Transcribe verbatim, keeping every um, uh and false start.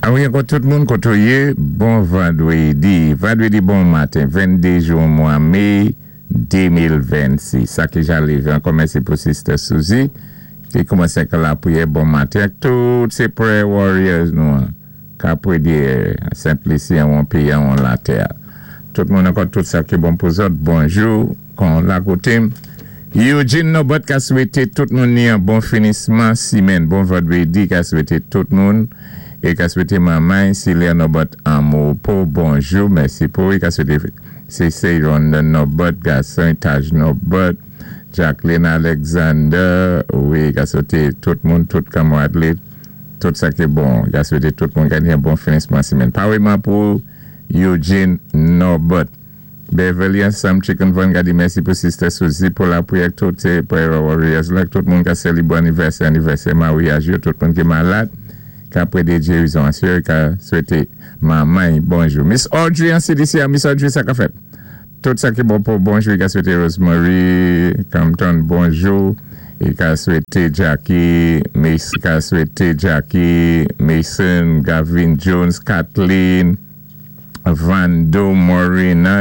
Awi, ankò tout moun koto yé, bon vandwédi. Vandwédi bon maten, venndé jou mwa mé de mil vennsis. Sa ki ja lévé, ankò mèsi pou Sister Suzy, ki koumansé ak lapwiyè bon maten. Ak tout sé prayer warriors nou an, ka pwédé Sent Lisi an péyi an latè. Tout moun ankò, tout sa ki bon pou zòt, bonjou, kon la koté. Eugene Nobot ka swété tout moun ni an bon finisman simenn, bon vandwédi ka swété tout moun. É ka swété manman Silia Nobot an mo bonjou, mèsi pou i ka swété Sese Ronda Nobot, gason Taj Nobot, Jacqueline Alexander, wi, ka swété tout moun, tout kanmarad, tout sa ki bon, ka swété tout moun gagné un bon finisman simenn. Paréyman pou Eugene Nobot. Beverly ansanm Chicken Von ka di mèsi pou Sister Suzy pou lapwiyè, tout sé prayer warriors la, tout moun ka sélébwé anivèsè, anivèsè maryaj yo, tout moun ki malad, ka pwédé gérizon. Asé ka swété manman bonjou. Miss Audrey an C D C, Miss Audrey, sa ka fèt. Tout sa ki bon pou bonjou, ka swété Rosemary Compton bonjou, é ka swété Jackie, Miss ka swété Jackie Mason, Gavin Jones, Kathleen, Vando Morina.